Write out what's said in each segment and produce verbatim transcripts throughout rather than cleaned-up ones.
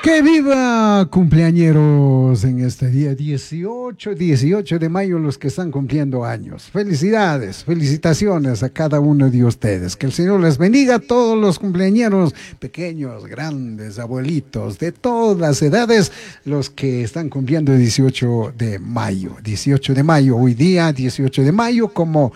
¡Que viva cumpleañeros en este día dieciocho, dieciocho de mayo, los que están cumpliendo años! Felicidades, felicitaciones a cada uno de ustedes. Que el Señor les bendiga a todos los cumpleañeros, pequeños, grandes, abuelitos, de todas las edades, los que están cumpliendo dieciocho de mayo. dieciocho de mayo, hoy día dieciocho de mayo, como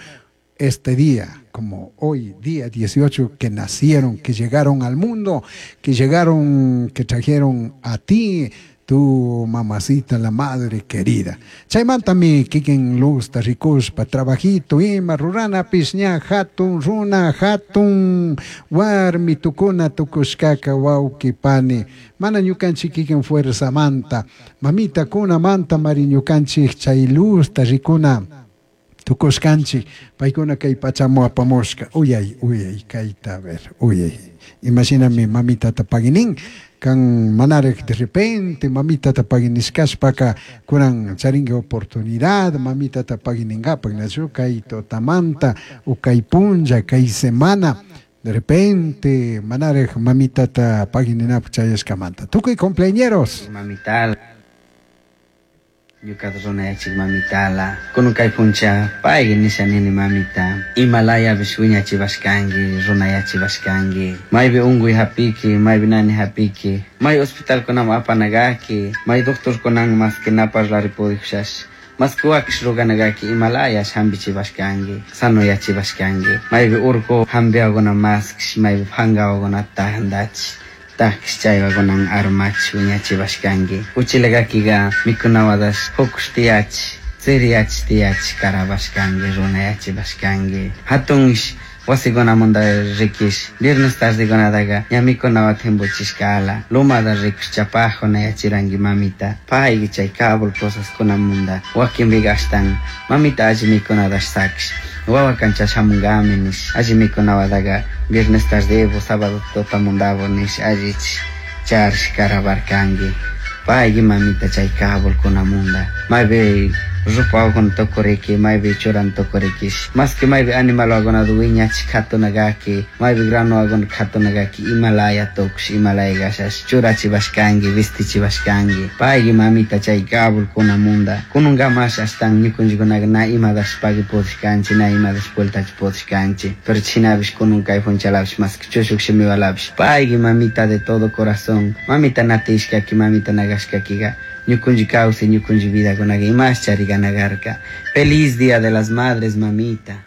este día, como hoy día dieciocho, que nacieron, que llegaron al mundo, que llegaron, que trajeron a ti, tu mamacita, la madre querida. Chaymantami kikin luzta rikushpa trabajito ima rurana pishña hatun runa hatun warmi tukuna tukushkaka wawqi pani. Mana ñukanchik kikin fuerzamanta, mamita kunamanta mari ñukanchik chay luzta rikuna tukushkanchik, paykuna kay pachamu apamushka. Uyay, uyay, kayta a ver, uyay. Imashinami mamitata paginin, kan manarek de repente mamitata paginishkashpaka kunan charinki oportunidad mamitata paginingapak, nachu kay totamanta o kay punlla, kay semana, de repente manarek mamitata pagininapuk chayashkamanta. Tukuy cumpleañeros. Mamitala. Ñuka runayachik mamitala. Kunun kay puncha, payki nisha nini mamita. Himalayapish wiñachibashkanki, runayachibashkanki. Maypi unkuy hapiki, maypi nani hapiki. May hospitalkunaman apanagaki, may doctorkunan mas que na parlari pudijushash. Mas que wakish ruganagaki Himalayash hampichibashkanki, sanoyachibashkanki. Maypi urku hampiwakuna maskish, maypi pankawakuna tandachi. Takish chaywakunan armachish wiñachibashkanki. Uchilakakiga mikunawadash hukush tiyachi, tsiriyachi tiyachi karabashkanki, runayachibashkanki. Hatunsh wasikunamanta rikish, viernes tardekunataqa ña mikunawa timpuchishkala. Lumada rikush chapajuna yachiranki mamita. Payki chay Kabul cosaskunamanta wakinpiqa ashtan mamita alli mikunadash sakish. Wawa kancha shamunkami nish, alli mikunawataqa viernes tardevo, sábado tutamundavo nish, allich charish karabarkanki. Payki mamita chay Kabulkunamanta. Maypi rupawakuna tukuriki, maypi churan tukurikish. Mas que maypi animalwakunata wiñachik katunakaki, maypi granowakuna katunakaki, Himalaya tukush, Himalaya kashash, churachibashkanki, vistichibashkanki. Payki mamita chay Kabulkunamanta. Kununkamash ashtan ñukunchikkunaka na imadash pagui pudishkanchik, na imadash vueltachi pudishkanchik. Pero chinapish kunun kay punchalapish, mas que chushuk shimiwalapish. Payki mamita de todo corazón. Mamita natishkaki, mamita nagashkakiga. Ñukunchik kawsay, ñukunchik vidakunaka imash charikanakarka. Feliz Día de las Madres, mamita.